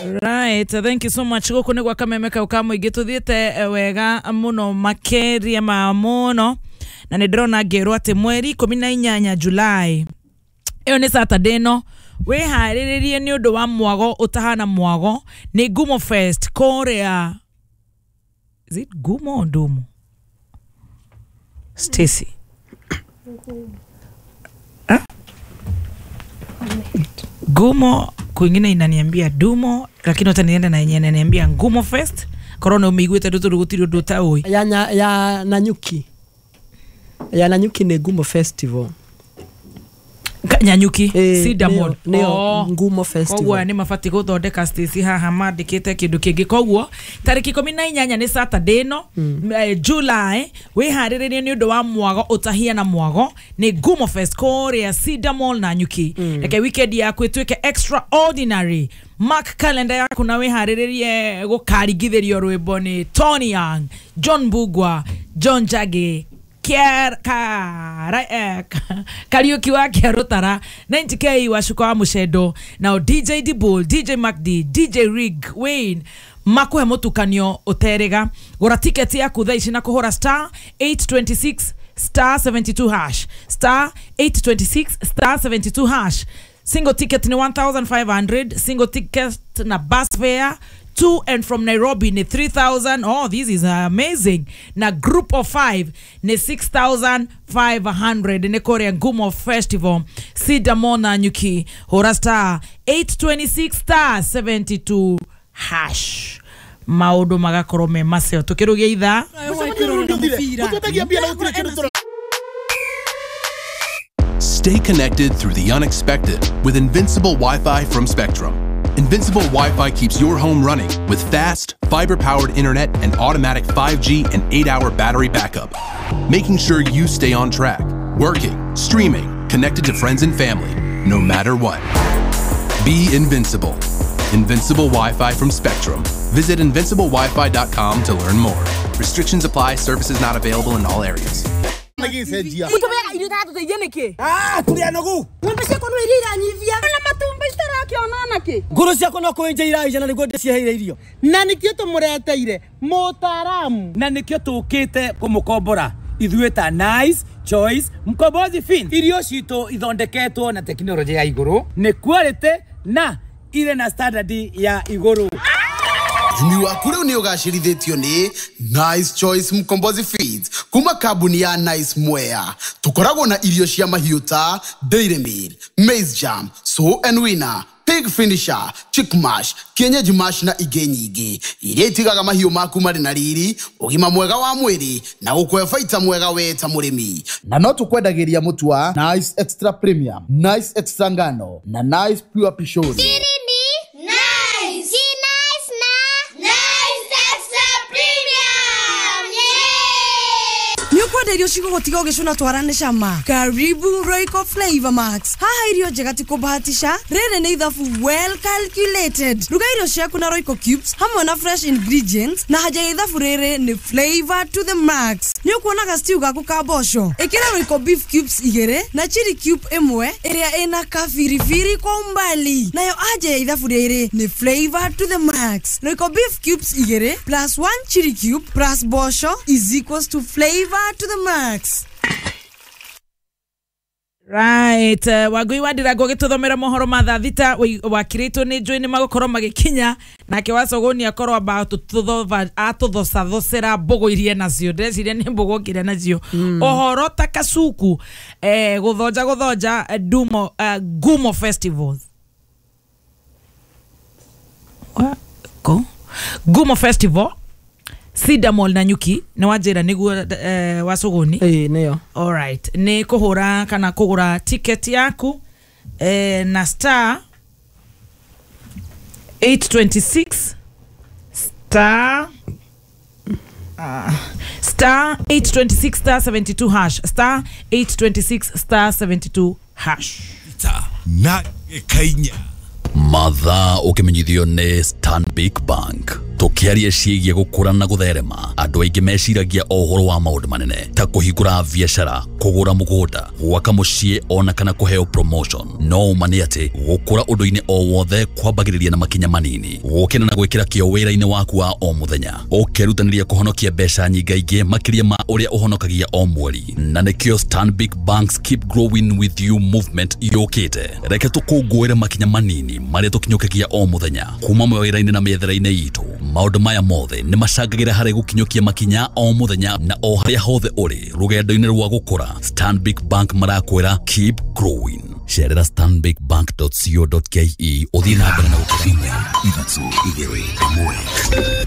Right, thank you so much. Guku nĩ gwa Kameme kau ka mũingĩ tũthiĩte wega mũno makĩria ma mũno, na nĩ ndĩrona ngĩrwo atĩ mweri 18 July, ĩyo nĩ Saturday ĩno, wĩharĩrĩrie nĩ ũndũ wa mwago ũtahana mwago, nĩ Ngumo Fest kũrĩa. Is it Gumo or Ndumo? Stacy. Huh? Gumo kwingine inaniambia Dumo, lakini hata nienda na yenyewe inaniambia Ngumo Fest. Korona umeiguĩte ndũ gũtirĩ ũndũ ũtaũĩ. Ya Nanyuki. Ya Nanyuki nĩ Ngumo Festival. Nyanyuki Cinnamon nĩyo Ngumo Festival. Koguo nĩ mabatiĩ gũthondeka Stacy haha mandĩkĩte kĩndũ kĩngĩ. Koguo tarĩki 18 nĩ Saturday ĩno, July, wĩharĩrĩrie nĩ ũndũ wa mwago ũtahiana mwago, nĩ Ngumo Fest kũrĩa Cinnamon Nanyuki. Reke weekend yaku ĩtuĩke extraordinary. Mark calendar yaku na wĩharĩrĩrie gũkaringithĩrio rwĩmbo nĩ Tony Young, John Bugwa, John Njagi, Kariuki wa Kĩarũtara, 90K wa Cuka wa Mũcendo, nao DJ Dibul, DJ MacD, DJ Rig Wayne makuhe mũtukanio ũterĩga. Gũra tiketi yaku thaa ici na kũhũra star 826 star 72 hash, star 826 star 72 hash. Single ticket ni 1500, single ticket na bus fare to and from Nairobi ni 3000. Oh, this is amazing. Na group of 5 ni 6500. Ni Korea Ngumo Festival, Cinnamon Nanyuki. Hora star 826 star 72 hash. Maũndũ magakorwo me macio tukirugia ithaa. Stay connected through the unexpected with Invincible Wi-Fi from Spectrum. Invincible Wi-Fi keeps your home running with fast, fiber-powered internet and automatic 5G and 8-hour battery backup, making sure you stay on track, working, streaming, connected to friends and family, no matter what. Be invincible. Invincible Wi-Fi from Spectrum. Visit invinciblewifi.com to learn more. Restrictions apply. Services not available in all areas. Nguru ciakwa no kwĩnja iraija na nĩguo ndĩciheire irio. Na nĩkĩo tũmũreteire mũtaaramu. Na nĩkĩo tũkĩte kũmũkombora ithuĩ ta Nice Choice Mkombozi Fin. Irio citũ ithondeketwo na tekinoronjĩ ya igũrũ, nĩ quality na irĩ na standard ya igũrũ. Ũrĩmi waku rĩu nĩ ũgacĩrithĩtio nĩ Nice Choice Mkombozi Feeds kuma kambuni ya Nice Mwea. Tũkoragwo na irio cia mahiũ ta Dairy Meal, Maize Jam, Sow and Winner, Pig Finisher, Chick Mash, Kienyeji Mash na ingĩ nyingĩ iria itigaga mahiũ maku marĩ na riri, ũgima mwega wa mwĩrĩ na gũkũhe baita mwega we ta mũrĩmi. Na no tũkwendagĩria mũtu wa Nice Extra Premium, Nice Extra Ngano na Nice Pure Pishori. Irio cigũgũtiga ũgĩcũna twarane cama. Karibu Royco Flavor Max. Haha irio njega ti kũbahatisha, rĩrĩ nĩ ithabu well calculated. Ruga irio ciaku na Royco Cubes hamwe na fresh ingredients, na haja ya ithabu rĩrĩ nĩ flavor to the max. Nĩ ũkuonaga stew gaku ka mboco, ĩkĩra Royco beef cubes 2 na chili cube 1 ĩrĩa ĩna kabiribiri kwa umbali. Nayo haja ya ithabu rĩrĩ nĩ flavor to the max. Royco beef cubes 2 plus 1 chili cube plus mboco is equals to flavor to the max. Right, Wangui wa Ndirango gĩtũthomera mohoro ma thaa thita wakirĩtwo nĩ njũĩ nĩ magũkorwo magĩkinya, nake Wacogoni akorwo amba atũthocathocera mbũgũ iria nacio, ndĩreciria nĩ mbũgũ okire nacio. Ũhoro ta Kasuku, gũthonja gũthonja Dumo, Ngumo Festivals. Ngumo Festival Cinnamon Nanyuki nĩ wanjĩra nĩguo, Wacogoni. Ĩĩ nĩyo. Alright, nĩ kũhũra kana kũgũra ticket yaku na star 826 star star 826 star 72 hash, star 826 star 72 hash. Na Kenya. Mathaa ũkĩmenyithio nĩ Stanbic Bank. Tũkĩaria ciĩgiĩ gũkũra na gũtherema, andũ aingĩ meciragia o ũhoro wa maũndũ manene ta kũhingũra biacara, kũgũra mũgũnda, gwaka mũciĩ ona kana kũheo promotion. No ũma nĩ atĩ gũkũra ũndũ-inĩ o wothe kwambagĩrĩria na makinya manini, gũkĩra na gwĩkĩra kĩo wĩra-inĩ waku wa o mũthenya, ũkerutanĩria kũhonokia mbeca nyingaingĩ makĩria ma ũrĩa ũhonokagia o mweri. Na nĩkĩo Stanbic Bank's Keep Growing With You movement yũkĩte. Reke tũkũngũĩre makinya manini marĩa tũkinyũkagia o mũthenya kuma mawĩra-inĩ na mĩethere-inĩ itũ. Maũndũ maya mothe nĩ macangagĩra harĩ gũkinyũkia makinya o mũthenya na o harĩa hothe ũrĩ rũgendo-inĩ rwa gũkũra. Stanbic Bank marakwĩra keep growing. Cerera stanbicbank.co.ke ũthiĩ na mbere na gũkũra. 3 2 1.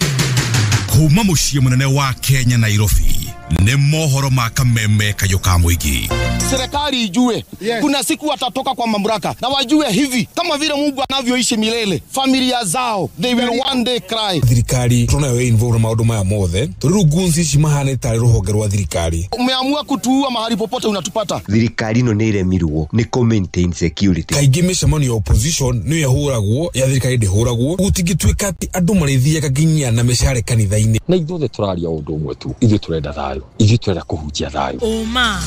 Kuma mũciĩ mũnene wa Kenya Nairobi nĩ mohoro ma kameme kayũ ka mũingĩ. Serikali ijue, yes, kuna siku watatoka kwa mamlaka na wajue hivi kama vile Mungu anavyoishi milele, familia zao they will one day cry. Thirikari tunayo involve na maũndũ maya mothe tondũ rĩu ngunzi ici mahana tarĩ rũhonge rwa thirikari. Umeamua kutuua mahali popote unatupata. Thirikari ino nĩ iremirwo nĩ kũ maintain security. Kaingĩ mĩcemanio ya opposition nĩyo ĩhũragwo ya thirikari ndĩhũragwo. Gũtingĩtuĩka atĩ andũ marĩthiaga nginya na mĩcare kanitha-inĩ. Na ithuothe tũraria ũndũ ũmwe tu, ithuĩ tũrenda thayũ, ithuĩ tũrenda kũhunjia thayũ. Ũma,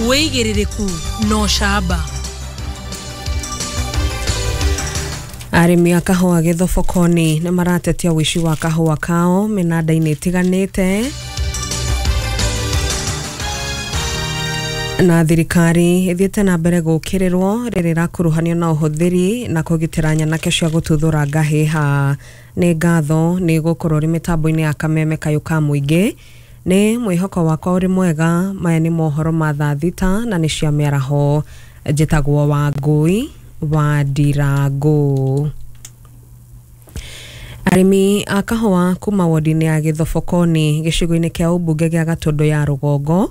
wĩigĩrĩrĩku na ũcamba. Arĩmi a kahũa Gĩthobokoni nĩ maratetia ũici wa kahũa kao mĩnanda-inĩ ĩtiganĩte. Na thirikari ĩthiĩte na mbere gũkĩrĩrwo rĩrĩa ĩrakuruhanio na ũhũthĩri na kũgitĩra nyanake cia gũtuthũra ngahĩha. Nĩ ngatho nĩ gũkorwo ũrĩ mĩtambo-inĩ ya kameme kayũ ka mũingĩ. Nĩ mwĩhoko wakwa ũrĩ mwega. Maya nĩ mohoro ma thaa 6 na nĩ cia mĩaraho. Njĩtagwo Wangũi wa Ndirango. Arĩmi a kahũa kuma wodi-inĩ ya Gĩthobokoni gĩcigo-inĩ kĩa ũmbunge gĩa Gatũndũ ya Rũgongo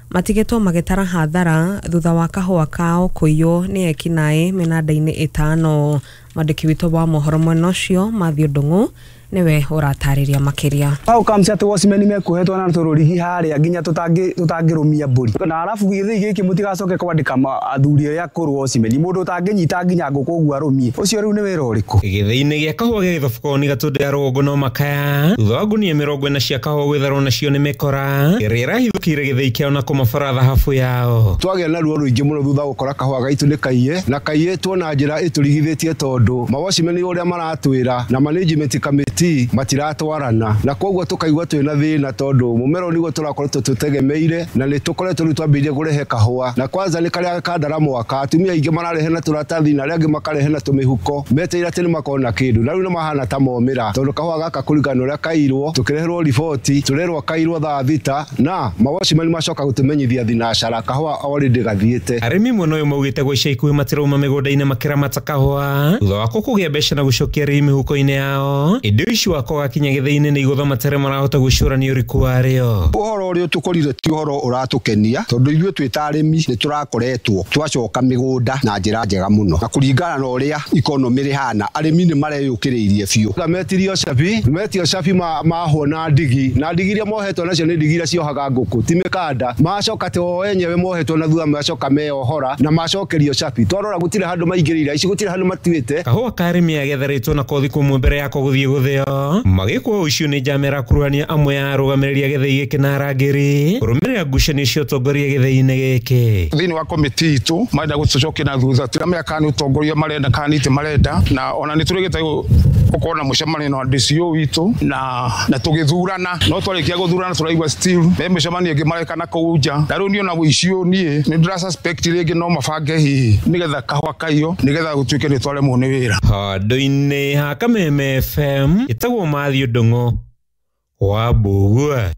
matigĩtwo magĩtara hathara thutha wa kahũa kao kũiywo nĩ ekinaĩ mĩnanda-inĩ 5. Mwandĩki witũ wa mohoro mwena ũcio Matthew Ndung'u niwe ũratarĩria makĩria. How comes atĩ watchmen mekuohetwo na tũrũrigi harĩa nginya tũtangĩrũmia mbũri, na arabu gĩthĩi gĩkĩ mũtigacoke kwandĩka athuri arĩa akũrũ watchmen, mũndũ ũtangĩnyita nginya ngũkũ ũguo arũmie, ũcio rĩu nĩ wĩra ũrĩkũ? Gĩthĩi-inĩ gĩa kahũa gĩa Gĩthobokoni Gatũndũ ya Rũgongo no makaya thutha wa ngunia 40 cia kahũa gwĩtharwo nacio nĩ mĩkora ĩrĩa ĩrahithũkĩire gĩthĩi kĩao na kũmabara thahabu yao. Twagĩa na ruo rũingĩ mũno thutha gũkora kahũa gaitũ nĩ kaiye na kaiyĩtwo na njĩra ĩtũrigithĩtie tondũ mawatchmen ũrĩa maratwĩra na management committee matiratwarana, na koguo tukaigua twina thina tondu mumero niguo turakoretwo tutegemeire na ni tukoretwo riu twambirie kurehe kahua, na kwanza ni karia kandara mwaka atumia aingi mararehe na turatathi na aria angi makarehe na tumihuko meteire ati ni makona kindu, na riu ni mahana ta momira tondu kahua gaka kuringana na uria kairwo tukireherwo riboti turerwo kairwo thaa 6 na mawatchmen macoka gutumenyithia thinacara kahua already gathiite. Arĩmi mwena ũyũ maugĩte gwa ica ikuhĩ matirauma mĩgũnda-inĩ makĩramata kahũa thutha wako kũgĩa mbeca na gũcokia arĩmi mĩhuko-inĩ yao. Ĩndĩ ũici wako wakinya gĩthĩi-inĩ nĩ igũtha matere marahota gwĩcũrania ũriku warĩo. Ũhoro ũrĩa tũkorire ti ũhoro ũratũkenia tondũ ithuĩ twĩ ta arĩmi nĩ tũrakoretwo twacoka mĩgũnda na njĩra njega mũno, na kũringana na ũrĩa ikonomĩ rĩhana arĩmi nĩ mareyũkĩrĩirie biũ. Metirio cabi, metio cabi mahwo na ndigi, na ndigi iria mohetwo nacio nĩ ndigi iria ciohaga ngũkũ ti mĩkanda, macoka atĩ o enyewe mohetwo na thutha macoka meyohora na macokerio cabi. Twarora gũtirĩ handũ maingĩrĩire ici, gũtirĩ handũ matuĩte. Kahũa ka arĩmi agetherĩtwo na kothi kũmwe mbere yako gũthiĩ gũthĩo magĩkwo ũici nĩ njama ĩrakuruhania amwe ya arũgamĩrĩri a gĩthĩi gĩkĩ na arangĩri kũrũmĩrĩra ngucanio cia ũtongoria gĩthĩi-inĩ gĩkĩ. Thĩinĩ wa komiti itũ marenda gũtũcokia na thutha, tiramenya kana nĩ ũtongoria marenda kana nĩ itĩ marenda, na ona nĩ tũrĩgĩte gũkorwo na mũcemanio na DCO witũ na tũgĩthurana, no twarĩkia gũthurana tũraigua still me mĩcemanio ĩngĩ mareka na kũu nja, na rĩu niĩ ona ũici ũyũ niĩ nĩ ndĩra suspect rĩngĩ no mabange hihi nĩgetha kahũa kaiyo nĩgetha gũtuĩke nĩ twaremwo nĩ wĩra. Handũ-inĩ ha Kameme FM ĩtagwo Matthew Ndung'u wa Mbũgua.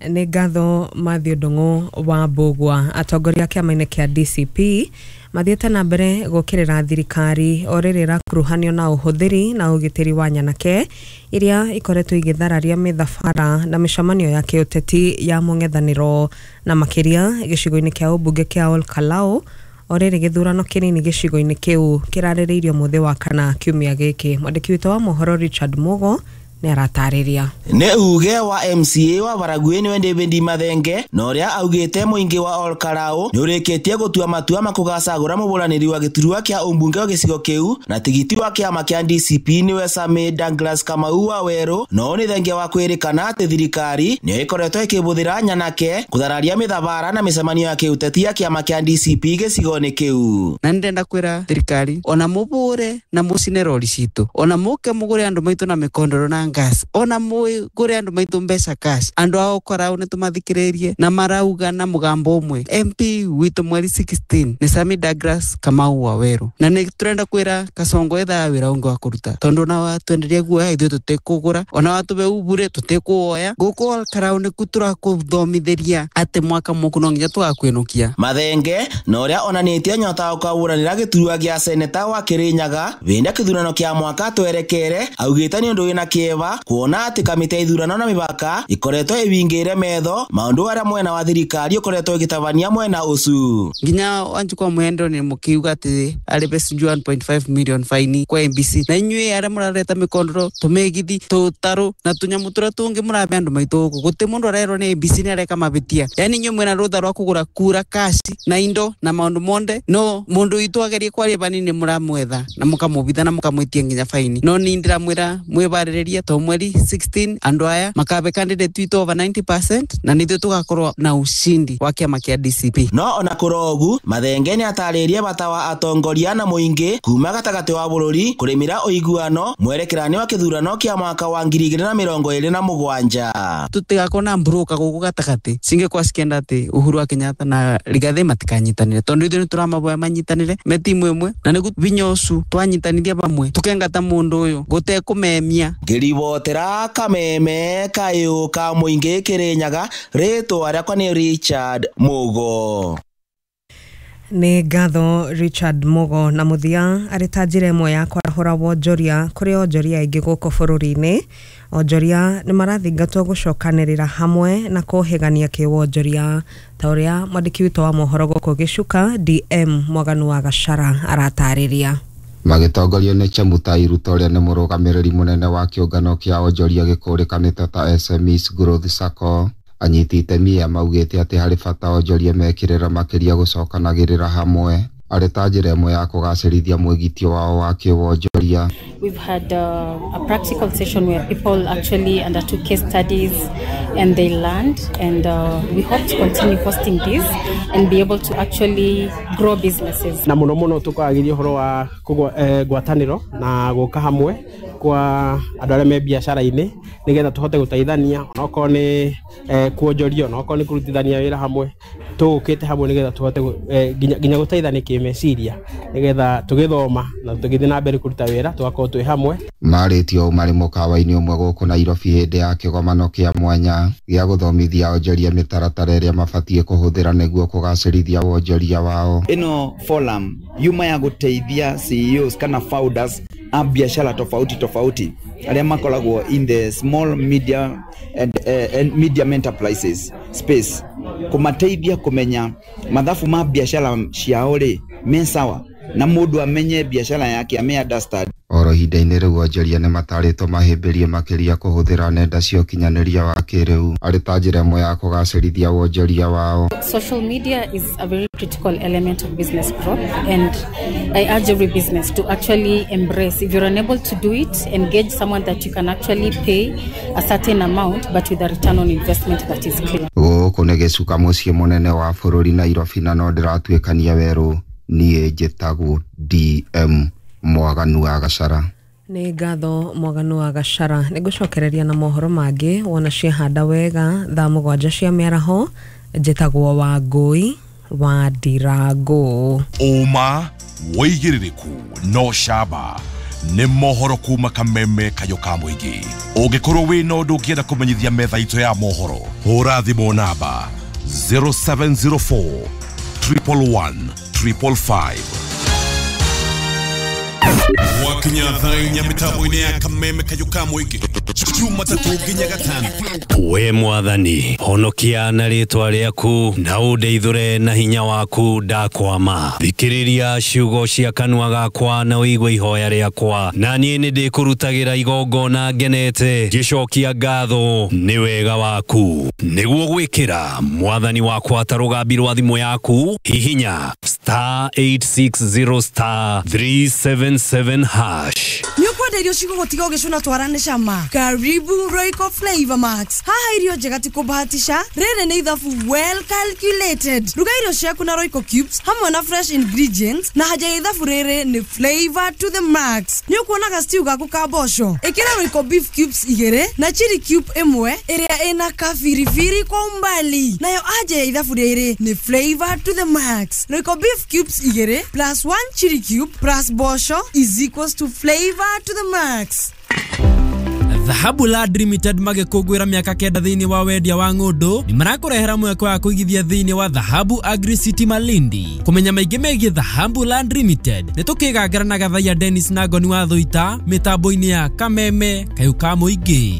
Nĩ ngatho Matthew Ndung'u wa Mbũgua. Atongoria kĩama-inĩ kĩa DCP mathiĩte na mbere gũkĩrĩra thirikari o rĩrĩa ĩrakuruhanio na ũhũthĩri na ũgitĩri wa nyanake iria ikoretwo igĩthararia mĩthabara na mĩcemanio ya kĩũteti ya mũng'ethanĩro, na makĩria gĩcigo-inĩ kĩa ũmbunge kĩa Ol Kalou o rĩrĩ gĩthurano kĩnini gĩcigo-inĩ kĩu kĩrarĩrĩirio mũthĩ wa kana kiumia gĩkĩ. Mwandĩki witũ wa mohoro Richard Mugo Nĩ aratarĩria. Nĩ uge wa MCA wa Baragwi nĩwe David Mathenge na ũrĩa augĩte mũingĩ wa Olkarau nĩ ũrĩkĩtie gũtua matua makũgacagũra mũbũranĩri wa gĩturwa kĩa ũmbunge wa gĩcigo kĩu na tigiti wa kĩama kĩa DCP nĩwe Sami Douglas Kamau wa Werũ. No nĩ thengia wa kwĩrĩkana atĩ thirikari nĩyo ĩkoretwo ĩkĩbũthĩra nyanake kũthararia mĩthabara na mĩcemanio ya kĩũteti ya kĩama kĩa DCP gĩcigo-inĩ kĩu. Na nĩndenda kwĩra thirikari ona mũbũre na mũcine rori citũ, ona mũke mũgũre andũ maitũ na mĩkondoro na gas, ona mũgũre andũ maitũ mbeca cash, andũ ao korao nĩ tũmathikĩrĩrie na marauga na mũgambo ũmwe. MP witũ mweri 16 nĩ Sami Douglas Kamau wa Werũ, na nĩ tũrenda kwĩra Kasongo ethaa wĩra ũngĩ wa kũruta, tondũ ona watwenderia guoya ithuĩ tũtikũgũra, ona watũbe ubure tũtikuoya. Gũkũ Olkarau nĩku tũrakũthomithĩria atĩ mwaka mũkũ no nginya tũgakwĩnũkia. Mathenge na ũrĩa onanĩtie nyota wa gũkabũranĩra gĩturwa gĩa seneta wa Kĩrĩnyaga wĩna kĩthurano kĩa mwaka twerekere augĩte nĩ ũndũ wĩna kĩeva kuona atĩ kamĩtĩ ya ithurano na mĩbaka ikoretwo ĩwingĩire metho maũndũ arĩa mwena wa thirikari ũkoretwo ĩgĩtabania mwena ũcu. Nginya Wanjikũ Mwendo nĩ mũkiuga atĩ arĩbe sijui 1.5 million faini kwa MBC, na inyuĩ arĩa mũrareta mĩkondoro tũmĩgithi tũtarũ na tũnyamũ tũrĩa tũngĩ mũrabe andũ maitũ gũkũ, gũtĩ mũndũ arerwo nĩ MBC nĩ areka mabĩtia. Yani inyuĩ mwĩna rũtha rwa kũgũra kura cash na indo na maũndũ monde, no mũndũ witũ agerie kwaria banini mũramwetha na mũkamũbitha na mũkamwĩtia nginya faini. No niĩ ndĩramwĩra mwĩbarĩrĩrie to mweri 16 andũ aya makabe candidate witũ over 90% na nithuĩ tũgakorwo na ushindi wa kĩama kĩa DCP. No ona kũrogu Mathenge nĩ atarĩrie bata wa atongoria na mũingĩ kuma gatagatĩ wa bũrũri kũrĩmĩra ũiguano mwerekerani wa kĩthurano kĩa mwaka wa 2027. Tũtigakorwo na mburuka gũkũ gatagatĩ cingĩkorwo cikĩenda atĩ Uhuru wa Kenyatta na Rigathi matikanyitanĩre, tondũ ithuĩ nĩtũramaboya manyitanĩre me timu ĩmwe, na nĩguo vinya ũcu twanyitanithia bamwe tũkengata mũndũ ũyũ gũtekũmemia. Ngĩribotera kameme kayũ ka mũingĩ Kĩrĩnyaga, rĩtwa rĩakwa nĩ Richard Mugo. Nĩ ngatho Richard Mugo. Na mũthia arĩ ta njĩra ĩmwe ya kwarahũra wonjoria kũrĩ onjoria aingĩ gũkũ bũrũri-inĩ, onjoria nĩ marathingatwo gũcokanĩrĩra hamwe na kũhĩgania kĩwonjoria ta ũrĩa mwandĩki witũ wa mohoro gũkũ Gĩcuka DM Mwaganu wa Gachara aratarĩria. Magĩtongorio nĩ Chemutai Ruto ũrĩa nĩ mũrũgamĩrĩri mũnene wa kĩũngano kĩa onjoria gĩkũrĩkanĩte ta SMEs Growth Sacco, anyiti itemi aya maugĩte atĩ harĩ bata onjoria mekĩrĩra makĩria gũcokanagĩrĩra hamwe arĩ ta njĩra ĩmwe ya kũgacĩrithia mwĩgitio wao wa kĩwonjoria. We've had a practical session where people actually undertook case studies and they learned, and we hope to continue hosting this and be able to actually grow businesses. Na muno muno tukagĩria ũhoro wa ngwatanĩro na gũka hamwe kwa andũ arĩa me biacara-inĩ nĩgetha tũhote gũteithania onokorwo nĩ kuonjoria onokorwo nĩ kũrutithania wĩra hamwe, tũũkĩte hamwe nĩgetha tũhote nginya gũteithania kĩmeciria nĩgetha tũgĩthoma na tũgĩthiĩ na mbere kũruta wĩra tũgakorwo twĩ hamwe. Marĩtio ũũ marĩ mũkawa-inĩ ũmwe gũkũ Nairobi hĩndĩ ya kĩgomano kĩa mwanya gĩa gũthomithia onjoria mĩtaratara ĩrĩa mabatiĩ kũhũthĩra nĩguo kũgacĩrithia wonjoria wao. Ĩno forum yuma ya gũteithia CEOs kana founders a biashara tofauti tofauti arĩa makoragwo in the small media and medium enterprises space, kũmateithia kũmenya mathabu ma biashara ciao rĩ me sawa, na mũndũ amenye biashara yake ame understand. Oro ihinda-inĩ rĩu onjoria nĩ matarĩtwo mahĩmbĩrie makĩria kũhũthĩra nenda cia ũkinyanĩria wa kĩrĩu arĩ ta njĩra ĩmwe ya kũgacĩrithia wonjoria wao. Social media is a very critical element of business growth, and I urge every business to actually embrace. If you're unable to do it, engage someone that you can actually pay a certain amount, but with a return on investment that is clear. Gũkũ nĩ Gĩcuka mũciĩ mũnene wa bũrũri Nairobi, na no ndĩratuĩkania werũ. Niĩ njĩtagwo DM Mwaganu wa Gachara. Nĩ ngatho Mwaganu wa Gachara. Nĩ ngũcokereria na mohoro mangĩ wona ciahanda wega thaa 7 cia mĩaraho. Njĩtagwo Wangũi wa Ndirango. Ũma wĩigĩrĩrĩku no camba nĩ mohoro kuma kameme kayũ ka mũingĩ. Ũngĩkorwo wĩna ũndũ ũngĩenda kũmenyithia metha itũ ya mohoro, hũra thimũ namba 0704 111 555. Gwakinya thaa 4 mĩtambo-inĩ ya Kameme Kayũ ka Mũingĩ, Jumatatũ nginya Gatano. We Mwathani, honokia na rĩtwa rĩaku na ũndeithũre na hinya waku. Ndakwama, thikĩrĩria ciugo cia kanua gakwa na ũigue ihoya rĩakwa, na niĩ nĩ ndĩkũrutagĩra igongona ngenete, ngĩcokia ngatho nĩ wega waku. Nĩguo gwĩkĩra Mwathani wakwa ta rũgambi rwa thimũ yaku, hihinya *860*377#. Nĩ ũkwenda irio cigũgũtiga ũgĩcũna twara nĩ cama? Karibu Royco Flavor Max. Haha irio njega ti kũbahatisha, rĩrĩ nĩ ithabu well calculated. Ruga irio ciaku na Royco cubes hamwe na fresh ingredients, na haja ya ithabu rĩrĩ nĩ flavor to the max. Nĩ ũkuonaga stew gaku ka mboco, ĩkĩra Royco beef cubes 2 na chili cube 1 ĩrĩa ĩna kabiribiri kwa umbali, nayo anja ya ithabu rĩrĩ nĩ flavor to the max. Royco beef cubes 2 plus 1 chili cube plus mboco is equals to flavor to the max. Dhahabu Land Limited magĩkũngũĩra mĩaka 9 thĩinĩ wa wendia wa ng'ũndũ, nĩ marakũrehera mweke wa kũigithia thĩinĩ wa Dhahabu Agri City Malindi. Kũmenya maingĩ megiĩ Dhahabu Land Limited, nĩ tũkĩgangara na Gathaiya Dennis na Ngoni wa Thũita mĩtambo-inĩ ya Kameme Kayũ ka Mũingĩ.